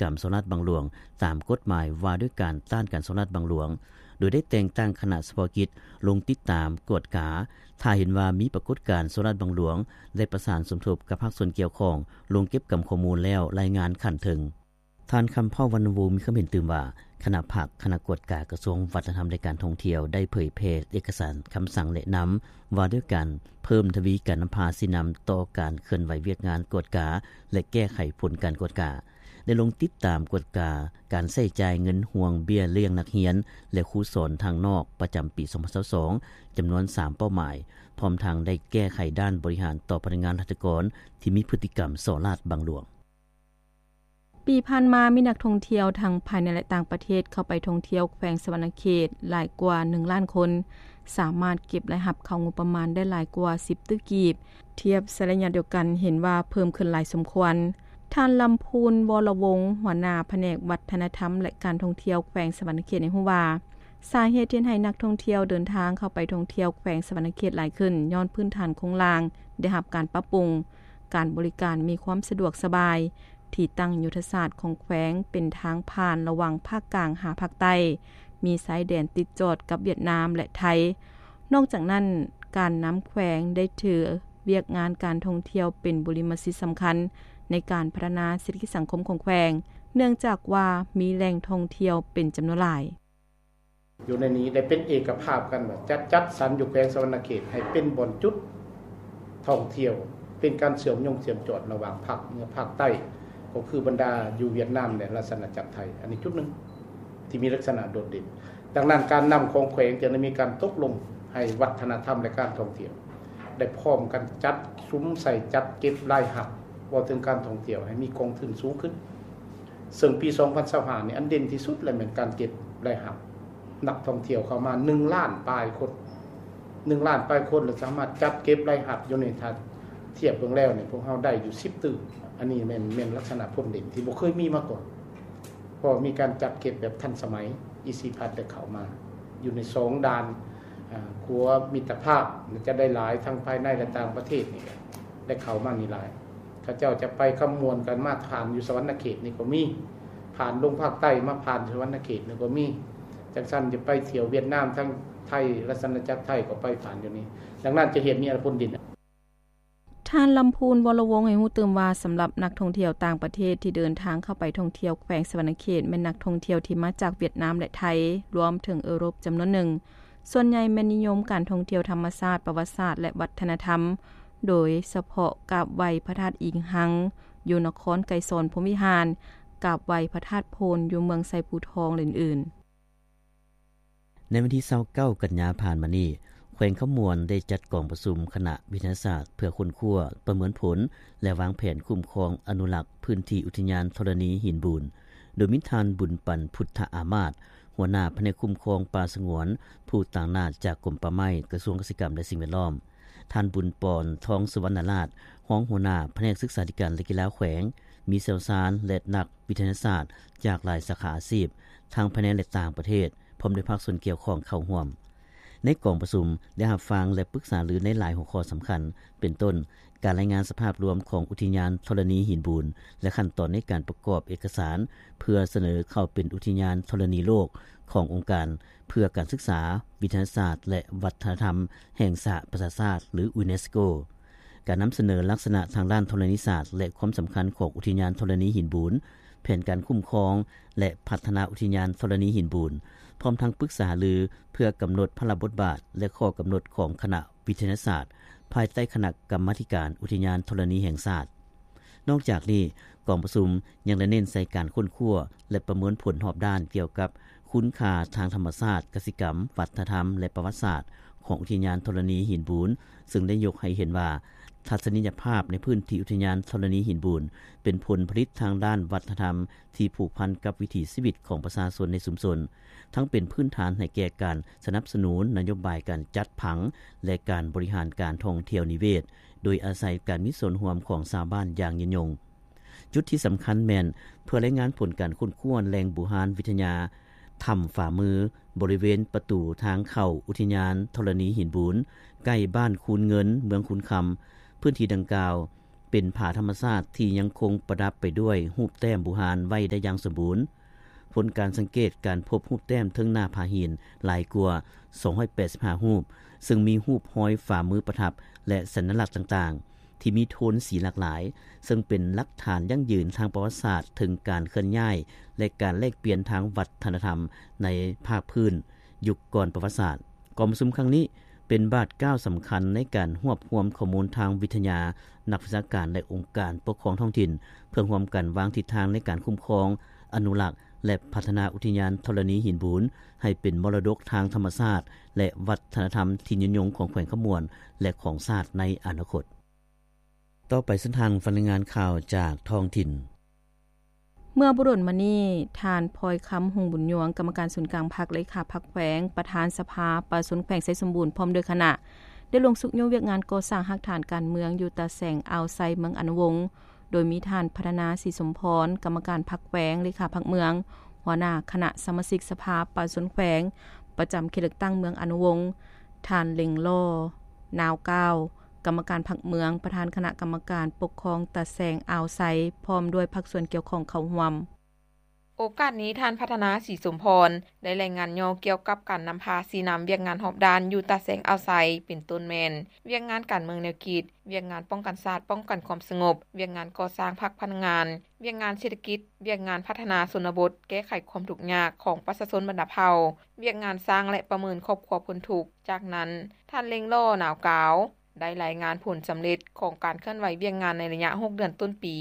ກຳສໍ້ລາດບັງຫຼວງ ຕາມກົດໝາຍວ່າດ້ວຍການຕ້ານການສໍ້ລາດບັງຫຼວງ, ໂດຍໄດ້ແຕ່ງຕັ້ງຄະນະສະເພາະກິດລົງຕິດຕາມກວດກາ, ຖ້າເຫັນວ່າມີປາກົດການສໍ້ລາດບັງຫຼວງ ໄດ້ປະສານສົມທົບກັບພາກສ່ວນກ່ຽວຂ້ອງ ລົງເກັບກຳຂໍ້ມູນແລ້ວລາຍງານຂັ້ນເທິງ. ທ່ານ ຄຳເຜົ່າ ວັນນະວົງ ມີຄວາມເຫັນຕື່ມວ່າ ຄະນະພັກ, ຄະນະກວດກາກະຊວງວັດທະນະທຳ ແລະ ການທ່ອງທ່ຽວ ໄດ້ເຜີຍແຜ່ເອກະສານຄຳສັ່ງແນະນຳ ວ່າດ້ວຍການເພີ່ມທະວີການນຳພາຊີ້ນຳຕໍ່ການເຄື່ອນໄຫວວຽກງານກວດກາ ແລະ ແກ້ໄຂຜົນການກວດກາ, ໄດ້ລົງຕິດຕາມກວດກາການໃຊ້ຈ່າຍເງິນຮ່ວງເບ້ຍລ້ຽງນັກຮຽນ ແລະ ຄູສອນທາງນອກປະຈຳປີສອງພັນຊາວສອງ ຈຳນວນສາມເປົ້າໝາຍ, ພ້ອມທັງໄດ້ແກ້ໄຂດ້ານບໍລິຫານຕໍ່ພະນັກງານລັດຖະກອນທີ່ມີພຶດຕິກຳສໍ້ລາດບັງຫຼວງ. ປີຜ່ານມາມີນັກທ່ອງທ່ຽວທັງພາຍໃນ ແລະ ຕ່າງປະເທດເຂົ້າໄປທ່ອງທ່ຽວແຂວງສະຫວັນນະເຂດຫຼາຍກວ່າໜຶ່ງລ້ານຄົນ, ສາມາດເກັບລາຍຮັບເຂົ້າງົບປະມານໄດ້ຫຼາຍກວ່າສິບຕື້ກີບ, ທຽບໃສ່ໄລຍະດຽວກັນເຫັນວ່າເພີ່ມຂຶ້ນຫຼາຍສົມຄວນ. ທ່ານ ລຳພູນ ວໍລະວົງ ຫົວໜ້າພະແນກວັດທະນະທຳ ແລະ ການທ່ອງທ່ຽວແຂວງສະຫວັນນະເຂດໃຫ້ຮູ້ວ່າ ສາເຫດທີ່ເຮັດໃຫ້ນັກທ່ອງທ່ຽວເດີນທາງເຂົ້າໄປທ່ອງທ່ຽວແຂວງສະຫວັນນະເຂດຫຼາຍຂຶ້ນ ຍ້ອນພື້ນຖານໂຄງລ່າງໄດ້ຮັບການປັບປຸງ, ການບໍລິການມີຄວາມສະດວກສະບາຍ, ທີ່ຕັ້ງຍຸດທະສາດຂອງແຂວງເປັນທາງຜ່ານລະຫວ່າງພາກກາງຫາພາກໃຕ້, ມີຊາຍແດນຕິດຈອດກັບຫວຽດນາມ ແລະ ໄທ. ນອກຈາກນັ້ນ, ການນຳແຂວງໄດ້ຖືວຽກງານການທ່ອງທ່ຽວເປັນບຸລິມະສິດສຳຄັນໃນການພັດທະນາເສດຖະກິດສັງຄົມຂອງແຂວງ, ເນື່ອງຈາກວ່າມີແຫຼ່ງທ່ອງທ່ຽວເປັນຈຳນວນຫຼາຍ. ຢູ່ໃນນີ້ໄດ້ເປັນເອກະພາບກັນວ່າຈະຈັດສັນຢູ່ແຂວງສະຫວັນນະເຂດໃຫ້ເປັນບ່ອນຈຸດທ່ອງທ່ຽວ, ເປັນການເຊື່ອມໂຍງເຊື່ອມຈອດລະຫວ່າງພາກເໜືອພາກໃຕ້, ກໍຄືບັນດາຢູ່ຫວຽດນາມ ແລະ ລາຊະອານາຈັກໄທ. ອັນນີ້ຈຸດໜຶ່ງທີ່ມີລັກສະນະໂດດເດັ່ນ. ດັ່ງນັ້ນ, ການນຳຂອງແຂວງຈຶ່ງໄດ້ມີການຕົກລົງໃຫ້ວັດທະນະທຳ ແລະ ການທ່ອງທ່ຽວ ໄດ້ພ້ອມກັນຈັດສຸມໃສ່ຈັດເກັບລາຍຮັບ, ເວົ້າເຖິງການທ່ອງທ່ຽວໃຫ້ມີກອງທຶນສູງຂຶ້ນ. ເຊິ່ງປີສອງພັນຊາວຫ້ານີ້ ອັນເດັ່ນທີ່ສຸດແລ້ວແມ່ນການເກັບລາຍຮັບນັກທ່ອງທ່ຽວເຂົ້າມາໜຶ່ງລ້ານປາຍຄົນ, ໜຶ່ງລ້ານປາຍຄົນ ແລ້ວສາມາດຈັດເກັບລາຍຮັບຢູ່ໃນ ຖ້າທຽບເບິ່ງແລ້ວນີ້ ພວກເຮົາໄດ້ຢູ່ສິບຕື້. ອັນນີ້ແມ່ນ ແມ່ນລັກສະນະຜົນເດັ່ນທີ່ບໍ່ເຄີຍມີມາກ່ອນ, ເພາະມີການຈັດເກັບແບບທັນສະໄໝ. ອີ ຊີ ພັດ ໄດ້ເຂົ້າມາຢູ່ໃນສອງດ່ານ, ອາ, ຂົວມິດຕະພາບ ຈະໄດ້ຫຼາຍທັງພາຍໃນ ແລະ ຕ່າງປະເທດນີ້ ໄດ້ເຂົ້າມານີ້ຫຼາຍ. ເຂົາເຈົ້າຈະໄປຄຳມ່ວນກັນມາຜ່ານຢູ່ສະຫວັນນະເຂດນີ້ກໍມີ, ຜ່ານລົງພາກໃຕ້ມາຜ່ານສະຫວັນນະເຂດນີ້ກໍມີ. ຈັ່ງຊັ້ນຈະໄປທ່ຽວຫວຽດນາມທາງໄທ, ລາຊະອານາຈັກໄທກໍໄປຜ່ານຢູ່ນີ້. ດັ່ງນັ້ນຈະເຮັດມີອະນາຄົດດີ. ທ່ານ ລຳພູນ ວໍລະວົງ ໃຫ້ຮູ້ຕື່ມວ່າ ສຳລັບນັກທ່ອງທ່ຽວຕ່າງປະເທດທີ່ເດີນທາງເຂົ້າໄປທ່ອງທ່ຽວແຂວງສະຫວັນນະເຂດ ແມ່ນນັກທ່ອງທ່ຽວທີ່ມາຈາກຫວຽດນາມ ແລະ ໄທ, ລວມເຖິງເອີຣົບຈຳນວນໜຶ່ງ. ສ່ວນໃຫຍ່ແມ່ນນິຍົມການທ່ອງທ່ຽວທຳມະຊາດ, ປະຫວັດສາດ ແລະ ວັດທະນະທຳ, ໂດຍສະເພາະກາບໄຫວ້ພະທາດອີງຮັງ ຢູ່ນະຄອນໄກສອນພົມວິຫານ, ກາບໄຫວ້ພະທາດໂພນຢູ່ເມືອງໄຊພູທອງ ແລະ ອື່ນໆ. ໃນວັນທີຊາວເກົ້າ ກັນຍາຜ່ານມານີ້, ແຂວງຄຳມ່ວນໄດ້ຈັດກອງປະຊຸມຄະນະວິທະຍາສາດເພື່ອຄົ້ນຄວ້າ, ປະເມີນຜົນ ແລະ ວາງແຜນຄຸ້ມຄອງອະນຸລັກພື້ນທີ່ອຸທິຍານທໍລະນີຫີນບູນ, ໂດຍມີທ່ານ ບຸນປັນ ພຸດທະອາມາດ, ຫົວໜ້າພະແນກຄຸ້ມຄອງປ່າສະຫງວນ, ຜູ້ຕາງໜ້າຈາກກົມປ່າໄມ້, ກະຊວງກະສິກຳ ແລະ ສິ່ງແວດລ້ອມ, ທ່ານ ບຸນປອນ ທອງສຸວັນນະລາດ, ຮອງຫົວໜ້າພະແນກສຶກສາທິການ ແລະ ກິລາແຂວງ, ມີຊ່ຽວຊານ ແລະ ນັກວິທະຍາສາດຈາກຫຼາຍສາຂາອາຊີບ, ທັງພາຍໃນ ແລະ ຕ່າງປະເທດ, ພ້ອມດ້ວຍພາກສ່ວນກ່ຽວຂ້ອງເຂົ້າຮ່ວມ. ໃນກອງປະຊຸມໄດ້ຮັບຟັງ ແລະ ປຶກສາລືໃນຫຼາຍຫົວຂໍ້ສຳຄັນ ເປັນຕົ້ນ ການລາຍງານສະພາບລວມຂອງອຸທິຍານທໍລະນີຫີນບູນ ແລະ ຂັ້ນຕອນໃນການປະກອບເອກະສານ ເພື່ອສະເໜີເຂົ້າເປັນອຸທິຍານທໍລະນີໂລກຂອງອົງການເພື່ອການສຶກສາ, ວິທະຍາສາດ ແລະ ວັດທະນະທຳແຫ່ງສະຫະປະຊາຊາດ ຫຼື ຢູເນສໂກ, ການນຳສະເໜີລັກສະນະທາງດ້ານທໍລະນີສາດ ແລະ ຄວາມສຳຄັນຂອງອຸທິຍານທໍລະນີຫີນບູນ, ແຜນການຄຸ້ມຄອງ ແລະ ພັດທະນາອຸທິຍານທໍລະນີຫີນບູນ, ພ້ອມທັງປຶກສາຫາລືເພື່ອກຳນົດພາລະບົດບາດ ແລະ ຂໍ້ກຳນົດຂອງຄະນະວິທະຍາສາດ ພາຍໃຕ້ຄະນະກຳມາທິການອຸທິຍານທໍລະນີແຫ່ງຊາດ. ນອກຈາກນີ້, ກອງປະຊຸມຍັງໄດ້ເນັ້ນໃສ່ການຄົ້ນຄວ້າ ແລະ ປະເມີນຜົນຮອບດ້ານກ່ຽວກັບຄຸນຄ່າທາງທຳມະຊາດ, ກະສິກຳ, ວັດທະນະທຳ ແລະ ປະຫວັດສາດຂອງອຸທິຍານທໍລະນີຫີນບູນ, ເຊິ່ງໄດ້ຍົກໃຫ້ເຫັນວ່າ ທັດສະນີຍະພາບໃນພື້ນທີ່ອຸທິຍານທໍລະນີຫີນບູນ ເປັນຜົນຜະລິດທາງດ້ານວັດທະນະທຳທີ່ຜູກພັນກັບວິຖີຊີວິດຂອງປະຊາຊົນໃນຊຸມຊົນ, ທັງເປັນພື້ນຖານໃຫ້ແກ່ການສະໜັບສະໜູນນະໂຍບາຍການຈັດຜັງ ແລະ ການບໍລິຫານການທ່ອງທ່ຽວນິເວດ, ໂດຍອາໄສການມີສ່ວນຮ່ວມຂອງຊາວບ້ານຢ່າງຍືນຍົງ. ຈຸດທີ່ສຳຄັນແມ່ນເພື່ອລາຍງານຜົນການຄົ້ນຄວ້າແຫຼ່ງບູຮານວິທະຍາ ຖ້ຳຝາມື ບໍລິເວນປະຕູທາງເຂົ້າອຸທິຍານທໍລະນີຫີນບູນ ໃກ້ບ້ານຄູນເງິນ ເມືອງຄູນຄຳ. ພື້ນທີ່ດັ່ງກ່າວ ເປັນຜາທຳມະຊາດທີ່ຍັງຄົງປະດັບໄປດ້ວຍຮູບແຕ້ມບູຮານໄວ້ໄດ້ຢ່າງສົມບູນ. ຜົນການສັງເກດການພົບຮູບແຕ້ມເທິງໜ້າຜາຫີນຫຼາຍກວ່າສອງຮ້ອຍແປດສິບຫ້າຮູບ, ເຊິ່ງມີຮູບຮອຍຝ່າມືປະທັບ ແລະ ສັນຍະລັກຕ່າງໆ ທີ່ມີໂທນສີຫຼາກຫຼາຍ, ເຊິ່ງເປັນຫຼັກຖານຢັ້ງຢືນທາງປະຫວັດສາດເຖິງການເຄື່ອນຍ້າຍ ແລະ ການແລກປ່ຽນທາງວັດທະນະທຳໃນພາກພື້ນຍຸກກ່ອນປະຫວັດສາດ. ກອງປະຊຸມຄັ້ງນີ້ເປັນບາດກ້າວສຳຄັນໃນການຮວບຮວມຂໍ້ມູນທາງວິທະຍາ, ນັກວິຊາການ ແລະ ອົງການປົກຄອງທ້ອງຖິ່ນ ເພື່ອຮ່ວມກັນວາງທິດທາງໃນການຄຸ້ມຄອງ, ອະນຸລັກ ແລະ ພັດທະນາອຸທິຍານທໍລະນີຫີນບູນ ໃຫ້ເປັນມໍລະດົກທາງທຳມະຊາດ ແລະ ວັດທະນະທຳທີ່ຍືນຍົງຂອງແຂວງຄຳມ່ວນ ແລະ ຂອງຊາດໃນອະນາຄົດ. ຕໍ່ໄປເຊີນທ່ານຟັງລາຍງານຂ່າວຈາກທ້ອງຖິ່ນ. ເມື່ອບໍ່ດົນມານີ້, ທ່ານ ພອຍຄຳ ຮຸ່ງບຸນຍວງ ກຳມະການສູນກາງພັກ, ເລຂາພັກແຂວງ, ປະທານສະພາປະຊາຊົນແຂວງໄຊສົມບູນ ພ້ອມດ້ວຍຄະນະ ໄດ້ລົງຊຸກຍູ້ວຽກງານກໍ່ສ້າງຮາກຖານການເມືອງຢູ່ຕາແສງອ່າວໄຊ ເມືອງອະນຸວົງ ໂດຍມີທ່ານ ພັດທະນາ ສີສົມພອນ ກຳມະການພັກແຂວງ, ເລຂາພັກເມືອງ, ຫົວໜ້າຄະນະສະມາຊິກສະພາປະຊາຊົນແຂວງ ປະຈຳເຂດເລືອກຕັ້ງເມືອງອະນຸວົງ, ທ່ານ ເລັງຫຼໍ່ ນາວກ້າວ ກຳມະການພັກເມືອງ, ປະທານຄະນະກຳມະການປົກຄອງຕາແສງອ່າວໄຊ ພ້ອມດ້ວຍພາກສ່ວນກ່ຽວຂ້ອງເຂົ້າຮ່ວມ. ໂອກາດນີ້, ທ່ານ ພັດທະນາ ສີສົມພອນ ໄດ້ລາຍງານຫຍໍ້ກ່ຽວກັບການນຳພາຊີ້ນຳວຽກງານຮອບດ້ານຢູ່ຕາແສງອ່າວໄຊ ເປັນຕົ້ນແມ່ນ ວຽກງານການເມືອງແນວຄິດ, ວຽກງານປ້ອງກັນຊາດ, ປ້ອງກັນຄວາມສະຫງົບ, ວຽກງານກໍ່ສ້າງພັກພະນັກງານ, ວຽກງານເສດຖະກິດ, ວຽກງານພັດທະນາຊົນນະບົດ, ແກ້ໄຂຄວາມທຸກຍາກຂອງປະຊາຊົນບັນດາເຜົ່າ, ວຽກງານສ້າງ ແລະ ປະເມີນຄອບຄົວພົ້ນທຸກ. ຈາກນັ້ນ, ທ່ານ ເລັງຫຼໍ່ ນາວກ້າວ ໄດ້ລາຍງານຜົນສຳເລັດຂອງການເຄື່ອນໄຫວວຽກງານໃນໄລຍະຫົກເດືອນຕົ້ນປີ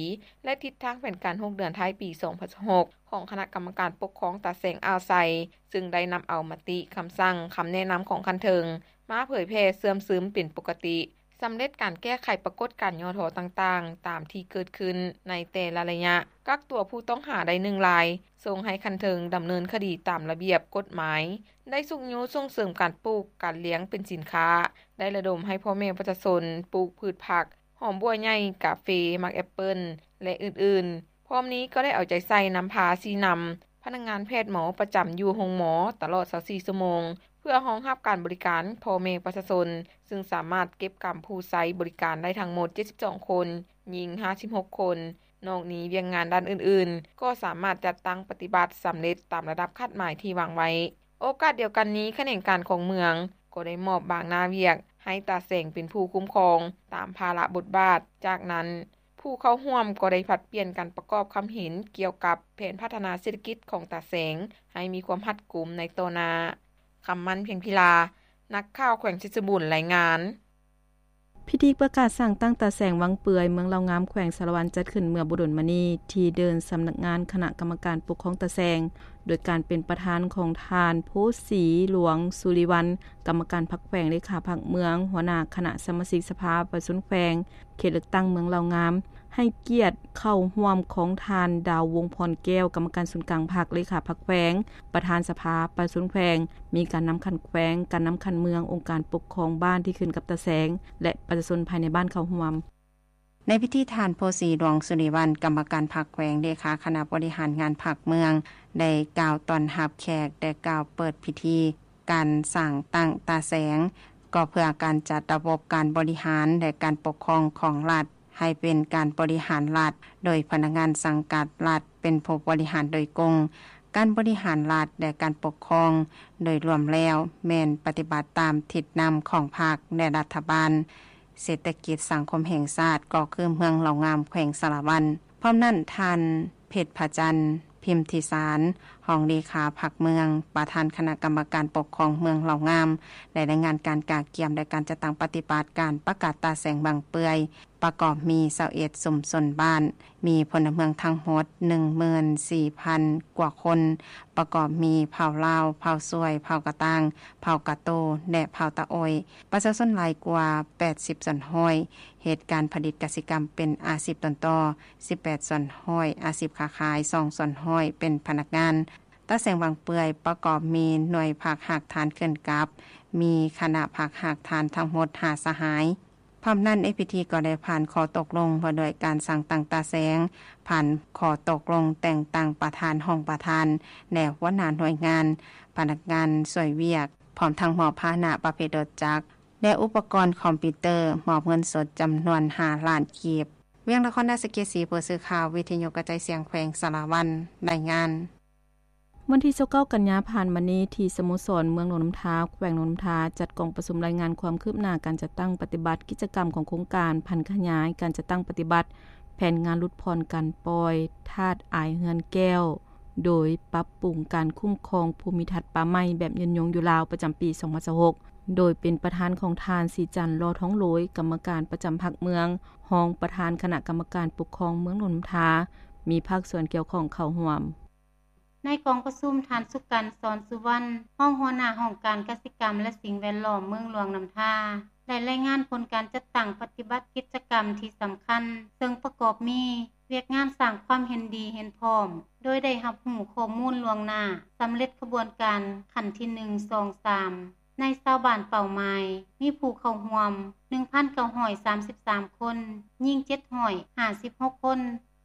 ແລະ ທິດທາງແຜນການຫົກເດືອນທ້າຍປີສອງພັນຊາວຫົກ ຂອງຄະນະກຳມະການປົກຄອງຕາແສງອ່າວໄຊ, ຊຶ່ງໄດ້ນຳເອົາມະຕິ, ຄຳສັ່ງ, ຄຳແນະນຳຂອງຂັ້ນເທິງ ມາເຜີຍແຜ່ເຊື່ອມຊຶມເປັນປົກກະຕິ, ສຳເລັດການແກ້ໄຂປາກົດການຫຍໍ້ທໍ້ຕ່າງໆ ຕາມທີ່ເກີດຂຶ້ນໃນແຕ່ລະໄລຍະ, ກັກຕົວຜູ້ຕ້ອງຫາໄດ້ໜຶ່ງລາຍ, ສົ່ງໃຫ້ຂັ້ນເທິງດຳເນີນຄະດີຕາມລະບຽບກົດໝາຍ, ໄດ້ຊຸກຍູ້ສົ່ງເສີມການປູກ, ການລ້ຽງເປັນສິນຄ້າ, ໄດ້ລະດົມໃຫ້ພໍ່ແມ່ປະຊາຊົນປູກພືດຜັກ, ຫອມບົ່ວໃຫຍ່, ກາເຟ, ໝາກແອັບເປິ້ນ ແລະ ອື່ນໆ. ພ້ອມນີ້ກໍໄດ້ເອົາໃຈໃສ່ນຳພາຊີ້ນຳພະນັກງານແພດໝໍປະຈຳຢູ່ໂຮງໝໍຕະຫຼອດຊາວສີ່ຊົ່ວໂມງ ເພື່ອຮອງຮັບການບໍລິການພໍ່ແມ່ປະຊາຊົນ, ຊຶ່ງສາມາດເກັບກຳຜູ້ໃຊ້ບໍລິການໄດ້ທັງໝົດເຈັດສິບສອງຄົນ, ຍິງຫ້າສິບຫົກຄົນ. ນອກນີ້, ວຽກງານດ້ານອື່ນໆ ກໍສາມາດຈັດຕັ້ງປະຕິບັດສຳເລັດຕາມລະດັບຄາດໝາຍທີ່ວາງໄວ້. ໂອກາດດຽວກັນນີ້, ຂະແໜງການຂອງເມືອງກໍໄດ້ມອບບາງໜ້າວຽກໃຫ້ຕາແສງເປັນຜູ້ຄຸ້ມຄອງຕາມພາລະບົດບາດ. ຈາກນັ້ນ, ຜູ້ເຂົ້າຮ່ວມກໍໄດ້ຜັດປ່ຽນກັນປະກອບຄຳເຫັນກ່ຽວກັບແຜນພັດທະນາເສດຖະກິດຂອງຕາແສງໃຫ້ມີຄວາມຮັດກຸມໃນຕໍ່ໜ້າ. ຄຳໝັ້ນ ພຽງພິລາ, ນັກຂ່າວແຂວງໄຊສົມບູນ ລາຍງານ. ພິທີປະກາດສ້າງຕັ້ງຕາແສງວັງເປືອຍ ເມືອງເລົ່າງາມ ແຂວງສາລະວັນ ຈັດຂຶ້ນເມື່ອບໍ່ດົນມານີ້ ທີ່ເດີ່ນສຳນັກງານຄະນະກຳມະການປົກຄອງຕາແສງ ໂດຍການເປັນປະທານຂອງທ່ານ ໂພສີຫຼວງ ສຸລິວັນ ກຳມະການພັກແຂວງ, ເລຂາພັກເມືອງ, ຫົວໜ້າຄະນະສະມາຊິກສະພາປະຊາຊົນແຂວງ, ເຂດເລືອກຕັ້ງເມືອງເລົ່າງາມ, ໃຫ້ກຽດເຂົ້າຮ່ວມຂອງທ່ານ ດາວວົງພອນແກ້ວ ກຳມະການສູນກາງພັກ, ເລຂາພັກແຂວງ, ປະທານສະພາປະຊາຊົນແຂວງ, ມີການນຳຂັ້ນແຂວງ, ການນຳຂັ້ນເມືອງ, ອົງການປົກຄອງບ້ານທີ່ຂຶ້ນກັບຕາແສງ ແລະ ປະຊາຊົນພາຍໃນບ້ານເຂົ້າຮ່ວມ. ໃນພິທີ, ທ່ານ ໂພສີຫຼວງ ສຸລິວັນ ກຳມະການພັກແຂວງ, ເລຂາຄະນະບໍລິຫານງານພັກເມືອງ ໄດ້ກ່າວຕ້ອນຮັບແຂກ ແລະ ກ່າວເປີດພິທີການສ້າງຕັ້ງຕາແສງ, ກໍເພື່ອການຈັດລະບົບການບໍລິຫານ ແລະ ການປົກຄອງຂອງລັດ ໃຫ້ເປັນການບໍລິຫານລັດ ໂດຍພະນັກງານສັງກັດລັດເປັນຜູ້ບໍລິຫານໂດຍກົງ. ການບໍລິຫານລັດ ແລະ ການປົກຄອງໂດຍລວມແລ້ວ ແມ່ນປະຕິບັດຕາມທິດນຳຂອງພັກ ແລະ ລັດຖະບານ. ເສດຖະກິດສັງຄົມແຫ່ງຊາດ ກໍຄືເມືອງເລົ່າງາມ ແຂວງສາລະວັນ. ພ້ອມນັ້ນ, ທ່ານ ເພັດພະຈັນ ພິມທິສານ ຮອງເລຂາພັກເມືອງ, ປະທານຄະນະກຳມະການປົກຄອງເມືອງເລົ່າງາມ ໄດ້ລາຍງານການກະກຽມ ແລະ ການຈັດຕັ້ງປະຕິບັດການປະກາດຕາແສງວັງເປືອຍ ປະກອບມີຊາວເອັດຊຸມຊົນບ້ານ, ມີພົນລະເມືອງທັງໝົດໜຶ່ງໝື່ນສີ່ພັນກວ່າຄົນ, ປະກອບມີເຜົ່າລາວ, ເຜົ່າຊວຍ, ເຜົ່າກະຕ່າງ, ເຜົ່າກະໂຕ ແລະ ເຜົ່າຕາໂອ້ຍ. ປະຊາຊົນຫຼາຍກວ່າແປດສິບສ່ວນຮ້ອຍ, ເຮັດການຜະລິດກະສິກຳເປັນອາຊີບຕົ້ນຕໍ, ສິບແປດສ່ວນຮ້ອຍອາຊີບຄ້າຂາຍ, ສອງສ່ວນຮ້ອຍເປັນພະນັກງານ. ຕາແສງວັງເປືອຍປະກອບມີໜ່ວຍພັກຮາກຖານເຄື່ອນກັບ, ມີຄະນະພັກຮາກຖານທັງໝົດຫ້າສະຫາຍ. ພ້ອມນັ້ນ, ໃນພິທີກໍໄດ້ຜ່ານຂໍ້ຕົກລົງວ່າດ້ວຍການສ້າງຕັ້ງຕາແສງ, ຜ່ານຂໍ້ຕົກລົງແຕ່ງຕັ້ງປະທານ, ຮອງປະທານ ແລະ ຫົວໜ້າໜ່ວຍງານ, ພະນັກງານຊ່ວຍວຽກ, ພ້ອມທັງມອບພາຫະນະປະເພດລົດຈັກ ແລະ ອຸປະກອນຄອມພິວເຕີ, ມອບເງິນສົດຈຳນວນຫ້າລ້ານກີບ. ວຽງນະຄອນ ດາສະເກສີ ຜູ້ສື່ຂ່າວວິທະຍຸກະຈາຍສຽງແຂວງສາລະວັນ ລາຍງານ. ວັນທີຊາວເກົ້າ ກັນຍາຜ່ານມານີ້ ທີ່ສະໂມສອນເມືອງຫຼວງນ້ຳທາ ແຂວງຫຼວງນ້ຳທາ ຈັດກອງປະຊຸມລາຍງານຄວາມຄືບໜ້າການຈັດຕັ້ງປະຕິບັດກິດຈະກຳຂອງໂຄງການຜັນຂະຫຍາຍການຈັດຕັ້ງປະຕິບັດແຜນງານຫຼຸດຜ່ອນການປ່ອຍທາດອາຍເຮືອນແກ້ວ ໂດຍປັບປຸງການຄຸ້ມຄອງພູມິທັດປ່າໄມ້ແບບຍືນຍົງຢູ່ລາວ ປະຈຳປີສອງພັນຊາວຫົກ ໂດຍເປັນປະທານຂອງທ່ານ ສີຈັນ ຫຼໍ່ທອງໂລຍ ກຳມະການປະຈຳພັກເມືອງ, ຮອງປະທານຄະນະກຳມະການປົກຄອງເມືອງຫຼວງນ້ຳທາ, ມີພາກສ່ວນກ່ຽວຂ້ອງເຂົ້າຮ່ວມ. ໃນກອງປະຊຸມ, ທ່ານ ສຸກັນ ສອນສຸວັນ ຮອງຫົວໜ້າຫ້ອງການກະສິກຳ ແລະ ສິ່ງແວດລ້ອມເມືອງຫຼວງນ້ຳທາ ໄດ້ລາຍງານຜົນການຈັດຕັ້ງປະຕິບັດກິດຈະກຳທີ່ສຳຄັນ, ເຊິ່ງປະກອບມີ ວຽກງານສ້າງຄວາມເຫັນດີເຫັນພ້ອມ ໂດຍໄດ້ຮັບຮູ້ຂໍ້ມູນລ່ວງໜ້າ ສຳເລັດຂະບວນການຂັ້ນທີໜຶ່ງ ສອງ ສາມ ໃນຊາວບ້ານເປົ້າໝາຍ ມີຜູ້ເຂົ້າຮ່ວມ ໜຶ່ງພັນເກົ້າຮ້ອຍສາມສິບສາມຄົນ, ຍິງ ເຈັດຮ້ອຍຫ້າສິບຫົກຄົນ.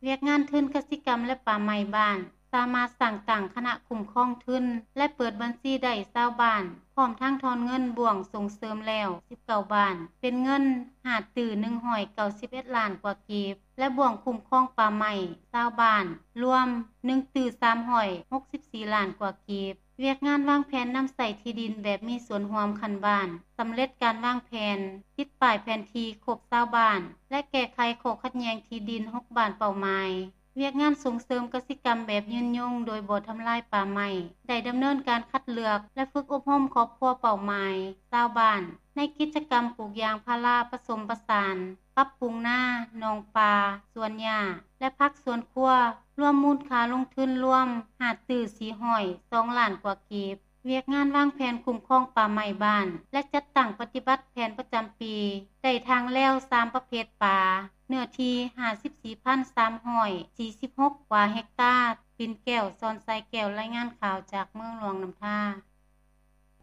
ວຽກງານທຶນກະສິກຳ ແລະ ປ່າໄມ້ບ້ານ ສາມາດສ້າງຕັ້ງຄະນະຄຸ້ມຄອງທຶນ ແລະ ເປີດບັນຊີໄດ້ຊາວບ້ານ, ພ້ອມທັງຖອນເງິນບ່ວງສົ່ງເສີມແລ້ວ ສິບເກົ້າບ້ານ, ເປັນເງິນຫ້າຕື້ໜຶ່ງຮ້ອຍເກົ້າສິບເອັດລ້ານກວ່າກີບ ແລະ ບ່ວງຄຸ້ມຄອງປ່າໄມ້ຊາວບ້ານ ລວມໜຶ່ງຕື້ສາມຮ້ອຍຫົກສິບສີ່ລ້ານກວ່າກີບ. ວຽກງານວາງແຜນນຳໃຊ້ທີ່ດິນແບບມີສ່ວນຮ່ວມຂັ້ນບ້ານ ສຳເລັດການວາງແຜນ, ຕິດປ້າຍແຜນທີ່ຄົບຊາວບ້ານ ແລະ ແກ້ໄຂຂໍ້ຂັດແຍ່ງທີ່ດິນ ຫົກບ້ານເປົ້າໝາຍ. ວຽກງານສົ່ງເສີມກະສິກຳແບບຍືນຍົງໂດຍບໍ່ທຳລາຍປ່າໄມ້ ໄດ້ດຳເນີນການຄັດເລືອກ ແລະ ຝຶກອົບຮົມຄອບຄົວເປົ້າໝາຍ, ຊາວບ້ານ ໃນກິດຈະກຳປູກຢາງພາລາປະສົມປະສານ, ປັບປຸງນາ, ໜອງປາ, ສວນຫຍ້າ ແລະ ຜັກສວນຄົວ, ລວມມູນຄ່າລົງທຶນລວມຫ້າຕື້ສີ່ຮ້ອຍສອງລ້ານກວ່າກີບ. ວຽກງານວາງແຜນຄຸ້ມຄອງປ່າໄມ້ບ້ານ ແລະ ຈັດຕັ້ງປະຕິບັດແຜນປະຈຳປີ ໄດ້ຖາງແລວສາມປະເພດປ່າ, ເນື້ອທີ່ຫ້າສິບສີ່ພັນສາມຮ້ອຍສີ່ສິບຫົກກວ່າເຮັກຕາ. ປິ່ນແກ້ວ ສອນໄຊແກ້ວ ລາຍງານຂ່າວຈາກເມືອງຫຼວງນ້ຳທາ.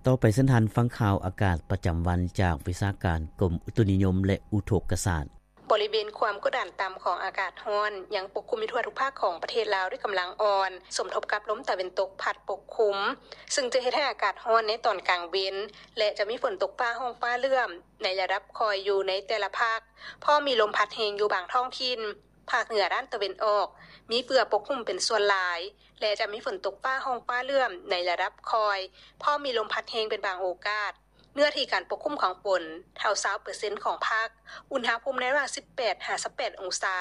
ຕໍ່ໄປເຊີນທ່ານຟັງຂ່າວອາກາດປະຈຳວັນຈາກວິຊາການກົມອຸຕຸນິຍົມ ແລະ ອຸທົກກະສາດ. ບໍລິເວນຄວາມກົດດັນຕ່ຳຂອງອາກາດຮ້ອນຍັງປົກຄຸມຢູ່ທົ່ວທຸກພາກຂອງປະເທດລາວດ້ວຍກຳລັງອ່ອນ, ສົມທົບກັບລົມຕາເວັນຕົກພັດປົກຄຸມ, ເຊິ່ງຈະເຮັດໃຫ້ອາກາດຮ້ອນໃນຕອນກາງເວັນ ແລະ ຈະມີຝົນຕົກຟ້າຮ້ອງຟ້າເຫຼື້ອມໃນລະດັບຄ່ອຍຢູ່ໃນແຕ່ລະພາກ, ພ້ອມມີລົມພັດແຮງຢູ່ບາງທ້ອງຖິ່ນ. ພາກເໜືອດ້ານຕາເວັນອອກ ມີເຝືອປົກຄຸມເປັນສ່ວນຫຼາຍ ແລະ ຈະມີຝົນຕົກຟ້າຮ້ອງຟ້າເຫຼື້ອມໃນລະດັບຄ່ອຍ, ພ້ອມມີລົມພັດແຮງເປັນບາງໂອກາດ. ເນື້ອທີ່ການປົກຄຸມຂອງຝົນ ເທົ່າຊາວເປີເຊັນຂອງພາກ, ອຸນຫະພູມໃນລະຫວ່າງສິບແປດຫາຊາວແປດອົງສາ.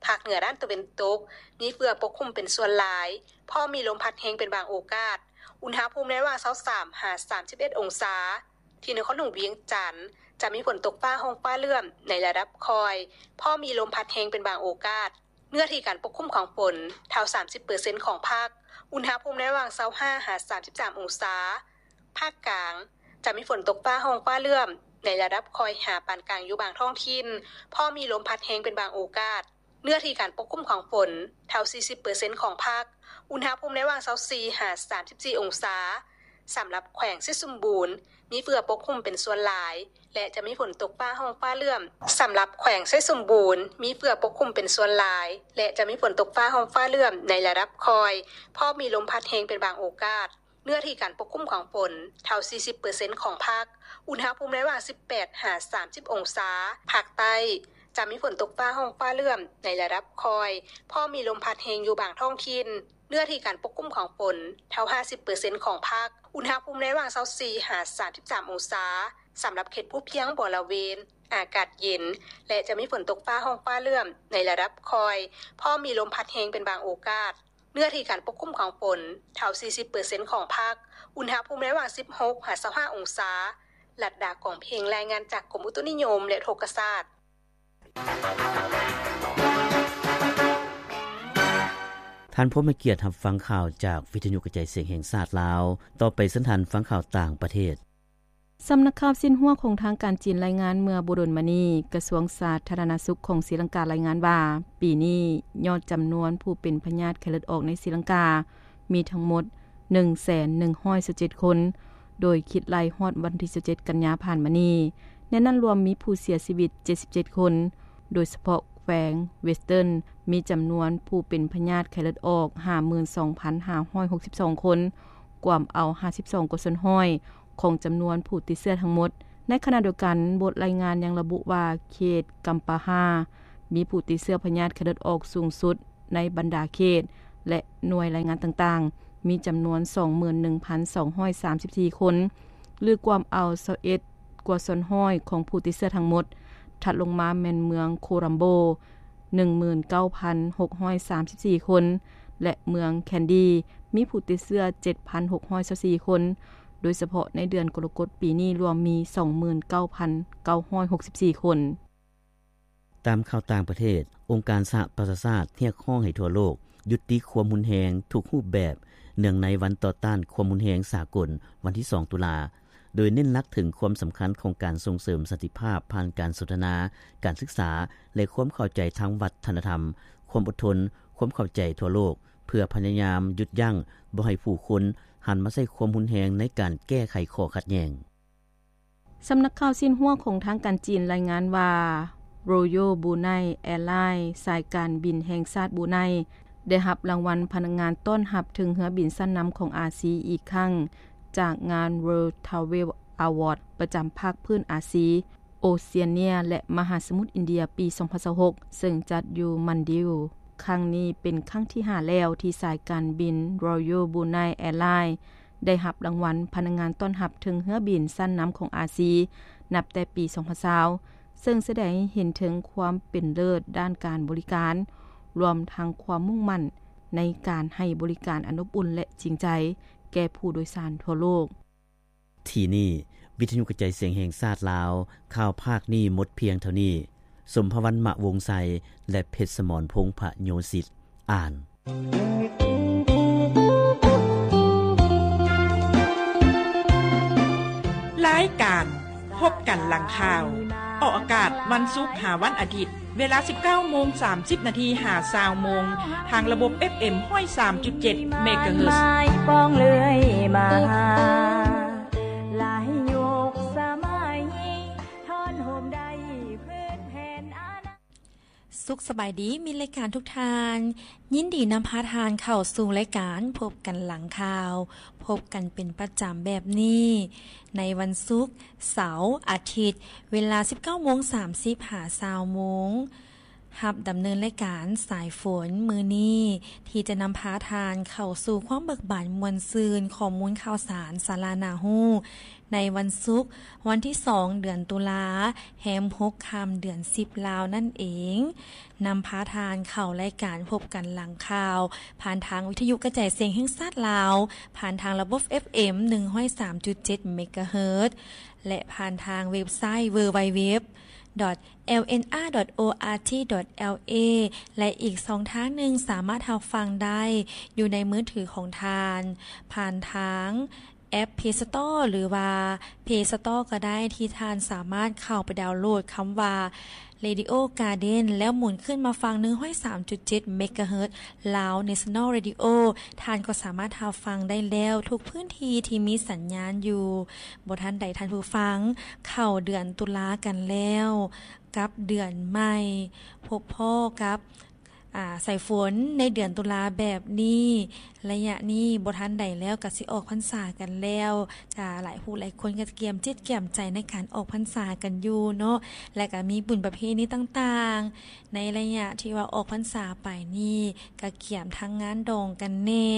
ພາກເໜືອດ້ານຕາເວັນຕົກ ມີເຝືອປົກຄຸມເປັນສ່ວນຫຼາຍ, ພ້ອມມີລົມພັດແຮງເປັນບາງໂອກາດ, ອຸນຫະພູມໃນລະຫວ່າງຊາວສາມຫາສາມສິບເອັດອົງສາ. ທີ່ນະຄອນຫຼວງວຽງຈັນ ຈະມີຝົນຕົກຟ້າຮ້ອງຟ້າເຫຼື້ອມໃນລະດັບຄ່ອຍ, ພ້ອມມີລົມພັດແຮງເປັນບາງໂອກາດ. ເນື້ອທີ່ການປົກຄຸມຂອງຝົນ ເທົ່າສາມສິບເປີເຊັນຂອງພາກ, ອຸນຫະພູມໃນລະຫວ່າງຊາວຫ້າຫາສາມສິບສາມອົງສາ. ພາກກາງ ຈະມີຝົນຕົກຟ້າຮ້ອງຟ້າເຫຼື້ອມໃນລະດັບຄ່ອຍຫາປານກາງຢູ່ບາງທ້ອງຖິ່ນ, ພ້ອມມີລົມພັດແຮງເປັນບາງໂອກາດ. ເນື້ອທີ່ການປົກຄຸມຂອງຝົນ ເທົ່າສີ່ສິບເປີເຊັນຂອງພາກ, ອຸນຫະພູມໃນລະຫວ່າງຊາວສີ່ຫາສາມສິບສີ່ອົງສາ. ສຳລັບແຂວງໄຊສົມບູນ ມີເຝືອປົກຄຸມເປັນສ່ວນຫຼາຍ ແລະ ຈະມີຝົນຕົກຟ້າຮ້ອງຟ້າເຫຼື້ອມ. ສຳລັບແຂວງໄຊສົມບູນ ມີເຝືອປົກຄຸມເປັນສ່ວນຫຼາຍ ແລະ ຈະມີຝົນຕົກຟ້າຮ້ອງຟ້າເຫຼື້ອມໃນລະດັບຄ່ອຍ, ພ້ອມມີລົມພັດແຮງເປັນບາງໂອກາດ. ເນື້ອທີ່ການປົກຄຸມຂອງຝົນ ເທົ່າສີ່ສິບເປີເຊັນຂອງພາກ, ອຸນຫະພູມໃນລະຫວ່າງສິບແປດຫາສາມສິບອົງສາ. ພາກໃຕ້ ຈະມີຝົນຕົກຟ້າຮ້ອງຟ້າເຫຼື້ອມໃນລະດັບຄ່ອຍ, ພໍມີລົມພັດແຮງຢູ່ບາງທ້ອງຖິ່ນ. ເນື້ອທີ່ການປົກຄຸມຂອງຝົນ ເທົ່າຫ້າສິບເປີເຊັນຂອງພາກ, ອຸນຫະພູມໃນລະຫວ່າງຊາວສີ່ຫາສາມສິບສາມອົງສາ. ສຳລັບເຂດພູພຽງບໍລະເວນ ອາກາດເຢັນ ແລະ ຈະມີຝົນຕົກຟ້າຮ້ອງຟ້າເຫຼື້ອມໃນລະດັບຄ່ອຍ, ພໍມີລົມພັດແຮງເປັນບາງໂອກາດ. ເນື້ອທີ່ການປົກຄຸມຂອງຝົນ ເທົ່າສີ່ສິບເປີເຊັນຂອງພາກ, ອຸນຫະພູມໃນລະຫວ່າງສິບຫົກຫາຊາວຫ້າອົງສາ. ລັດດາ ກອງເພັງ ລາຍງານຈາກກົມອຸຕຸນິຍົມ ແລະ ອຸທົກກະສາດ. ທ່ານຜູ້ມີກຽດຮັບຟັງຂ່າວຈາກວິທະຍຸກະຈາຍສຽງແຫ່ງຊາດລາວ. ຕໍ່ໄປເຊີນທ່ານຟັງຂ່າວຕ່າງປະເທດ. ສຳນັກຂ່າວຊິນຫົວຂອງທາງການຈີນລາຍງານເມື່ອບໍ່ດົນມານີ້, ກະຊວງສາທາລະນະສຸກຂອງສີລັງກາລາຍງານວ່າ, ປີນີ້ຍອດຈຳນວນຜູ້ເປັນພະຍາດໄຂ້ເລືອດອອກໃນສີລັງກາມີທັງໝົດໜຶ່ງແສນໜຶ່ງຮ້ອຍຊາວເຈັດຄົນ, ໂດຍຄິດໄລ່ຮອດວັນທີຊາວເຈັດກັນຍາຜ່ານມານີ້, ໃນນັ້ນລວມມີຜູ້ເສຍຊີວິດເຈັດສິບເຈັດຄົນ, ໂດຍສະເພາະແຂວງ Western ມີຈຳນວນຜູ້ເປັນພະຍາດໄຂ້ເລືອດອອກຫ້າໝື່ນສອງພັນຫ້າຮ້ອຍຫົກສິບສອງຄົນ, ກວມເອົາຫ້າສິບສອງກວ່າສ່ວນຮ້ອຍຂອງຈຳນວນຜູ້ຕິດເຊື້ອທັງໝົດ. ໃນຂະນະດຽວກັນ, ບົດລາຍງານຍັງລະບຸວ່າ ເຂດກຳປາຮາ ມີຜູ້ຕິດເຊື້ອພະຍາດໄຂ້ເລືອດອອກສູງສຸດໃນບັນດາເຂດ ແລະ ໜ່ວຍລາຍງານຕ່າງໆ ມີຈຳນວນ ສອງໝື່ນໜຶ່ງພັນສອງຮ້ອຍສາມສິບສີ່ຄົນ ຫຼື ກວມເອົາ ຊາວເອັດ ກວ່າສ່ວນຮ້ອຍຂອງຜູ້ຕິດເຊື້ອທັງໝົດ. ຖັດລົງມາແມ່ນເມືອງໂຄລັມໂບ ໜຶ່ງໝື່ນເກົ້າພັນຫົກຮ້ອຍສາມສິບສີ່ຄົນ ແລະ ເມືອງແຄນດີ ມີຜູ້ຕິດເຊື້ອ ເຈັດພັນຫົກຮ້ອຍຊາວສີ່ຄົນ, ໂດຍສະເພາະໃນເດືອນກໍລະກົດປີນີ້ລວມມີ ສອງໝື່ນເກົ້າພັນເກົ້າຮ້ອຍຫົກສິບສີ່ຄົນ. ຕາມຂ່າວຕ່າງປະເທດ, ອົງການສະຫະປະຊາຊາດຮຽກຮ້ອງໃຫ້ທົ່ວໂລກຍຸຕິຄວາມຮຸນແຮງທຸກຮູບແບບ ເນື່ອງໃນວັນຕໍ່ຕ້ານຄວາມຮຸນແຮງສາກົນ ວັນທີສອງ ຕຸລາ, ໂດຍເນັ້ນຫຼັກເຖິງຄວາມສຳຄັນຂອງການສົ່ງເສີມສັນຕິພາບຜ່ານການສົນທະນາ, ການສຶກສາ ແລະ ຄວາມເຂົ້າໃຈທາງວັດທະນະທຳ, ຄວາມອົດທົນ, ຄວາມເຂົ້າໃຈທົ່ວໂລກ ເພື່ອພະຍາຍາມຢຸດຢັ້ງບໍ່ໃຫ້ຜູ້ຄົນຫັນມາໃຊ້ຄວາມຮຸນແຮງໃນການແກ້ໄຂຂໍ້ຂັດແຍ່ງ. ສຳນັກຂ່າວຊິນຫົວຂອງທາງການຈີນລາຍງານວ່າ Royal Brunei Airlines ສາຍການບິນແຫ່ງຊາດບຣູໄນ ໄດ້ຮັບລາງວັນພະນັກງານຕ້ອນຮັບເທິງເຮືອບິນຊັ້ນນຳຂອງອາຊີອີກຄັ້ງ ຈາກງານ World Travel Award ປະຈຳພາກພື້ນອາຊີ, ໂອເຊຍເນຍ ແລະ ມະຫາສະໝຸດອິນເດຍ ປີສອງພັນຊາວຫົກ ເຊິ່ງຈັດຢູ່ມານດີວ. ຄັ້ງນີ້ເປັນຄັ້ງທີຫ້າແລ້ວທີ່ສາຍການບິນ Royal Brunei Airlines ໄດ້ຮັບລາງວັນພະນັກງານຕ້ອນຮັບເທິງເຮືອບິນຊັ້ນນຳຂອງອາຊີ ນັບແຕ່ປີສອງພັນຊາວ ເຊິ່ງສະແດງໃຫ້ເຫັນເຖິງຄວາມເປັນເລີດດ້ານການບໍລິການ, ລວມທັງຄວາມມຸ່ງໝັ້ນໃນການໃຫ້ບໍລິການອັນອົບອຸ່ນ ແລະ ຈິງໃຈແກ່ຜູ້ໂດຍສານທົ່ວໂລກ. ທີ່ນີ້ ວິທະຍຸກະຈາຍສຽງແຫ່ງຊາດລາວ, ຂ່າວພາກນີ້ໝົດພຽງເທົ່ານີ້. ສົມພະວັນ ມະວົງໄຊ ແລະ ເພັດສະໝອນ ພົງພະໂຍສິດ ອ່ານ. ລາຍການພົບກັນຫຼັງຂ່າວ ອອກອາກາດວັນສຸກຫາວັນອາທິດ ເວລາສິບເກົ້າໂມງສາມສິບນາທີຫາຊາວໂມງ ທາງລະບົບ ເອັຟເອັມ ຮ້ອຍສາມຈຸດເຈັດ ເມກາເຮີດ. ສຸກສະບາຍດີມິດລາຍການທຸກທ່ານ, ຍິນດີນຳພາທ່ານເຂົ້າສູ່ລາຍການພົບກັນຫຼັງຂ່າວ, ພົບກັນເປັນປະຈຳແບບນີ້ ໃນວັນສຸກ, ເສົາ, ອາທິດ, ເວລາສິບເກົ້າໂມງສາມສິບຫາຊາວໂມງ. ຮັບດຳເນີນລາຍການສາຍຝົນມື້ນີ້ ທີ່ຈະນຳພາທ່ານເຂົ້າສູ່ຄວາມເບີກບານມ່ວນຊື່ນ, ຂໍ້ມູນຂ່າວສານ, ສາລະໜ້າຮູ້ ໃນວັນສຸກ, ວັນທີສອງ ເດືອນຕຸລາ, ແຮມຫົກຄ່ຳ ເດືອນສິບລາວນັ້ນເອງ. ນຳພາທ່ານເຂົ້າລາຍການພົບກັນຫຼັງຂ່າວ ຜ່ານທາງວິທະຍຸກະຈາຍສຽງແຫ່ງຊາດລາວ, ຜ່ານທາງລະບົບ ເອັຟເອັມ ໜຶ່ງຮ້ອຍສາມຈຸດເຈັດ ເມກາເຮີດ ແລະ ຜ່ານທາງເວັບໄຊ www.lnr.org.lk ແລະ ອີກຊ່ອງທາງໜຶ່ງສາມາດຮັບຟັງໄດ້ຢູ່ໃນມືຖືຂອງທ່ານ ຜ່ານທາງແອັບ Play Store ຫຼືວ່າ Play Store ກໍໄດ້ ທີ່ທ່ານສາມາດເຂົ້າໄປດາວໂຫຼດຄຳວ່າ Radio Garden ແລ້ວໝູນຂຶ້ນມາຟັງ ໜຶ່ງຮ້ອຍສາມຈຸດເຈັດ ເມກາເຮີດ Lao National Radio. ທ່ານກໍສາມາດຮັບຟັງໄດ້ແລ້ວທຸກພື້ນທີ່ທີ່ມີສັນຍານຢູ່. ບໍ່ທັນໃດທ່ານຜູ້ຟັງ, ເຂົ້າເດືອນຕຸລາກັນແລ້ວ ກັບເດືອນໃໝ່, ພົບພໍ້ກັບ ອາ ສາຍຝົນໃນເດືອນຕຸລາແບບນີ້. ໄລຍະນີ້ບໍ່ທັນໃດແລ້ວກໍຊິອອກພັນສາກັນແລ້ວ. ຈະ ຫຼາຍຜູ້ຫຼາຍຄົນກໍກຽມຈິດກຽມໃຈໃນການອອກພັນສາກັນຢູ່ເນາະ ແລະ ກໍມີບຸນປະເພນີຕ່າງໆ ໃນໄລຍະທີ່ວ່າອອກພັນສາໄປນີ້ ກະກຽມທັງງານດອງກັນແດ່,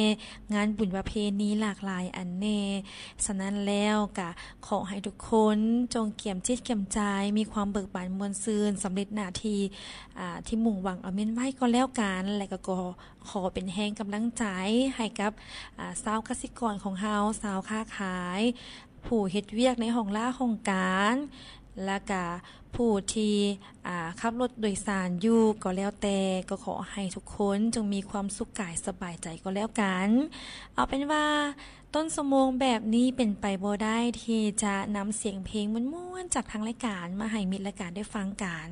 ງານບຸນປະເພນີຫຼາກຫຼາຍອັນແດ່. ສະນັ້ນແລ້ວກະຂໍໃຫ້ທຸກຄົນຈົ່ງກຽມຈິດກຽມໃຈ, ມີຄວາມເບີກບານມ່ວນຊື່ນ, ສຳເລັດໜ້າທີ່ ອາ ທີ່ມຸ່ງຫວັງເອົາແມ່ນໄວ້ກໍແລ້ວກັນ ແລະ ກໍ ກໍຂໍເປັນແຮງກຳລັງໃຈໃຫ້ກັບ ອາ ຊາວກະສິກອນຂອງເຮົາ, ຊາວຄ້າຂາຍ, ຜູ້ເຮັດວຽກໃນຫ້ອງລາຫ້ອງການ ແລະກະຜູ້ທີ່ ອາ ຂັບລົດໂດຍສານຢູ່ກໍແລ້ວແຕ່, ກໍຂໍໃຫ້ທຸກຄົນຈົ່ງມີຄວາມສຸກກາຍສະບາຍໃຈກໍແລ້ວກັນ. ເອົາເປັນວ່າຕົ້ນຊົ່ວໂມງແບບນີ້ເປັນໄປບໍ່ໄດ້ທີ່ຈະນຳສຽງເພງມ່ວນໆຈາກທາງລາຍການມາໃຫ້ມິດລາຍການໄດ້ຟັງກັນ.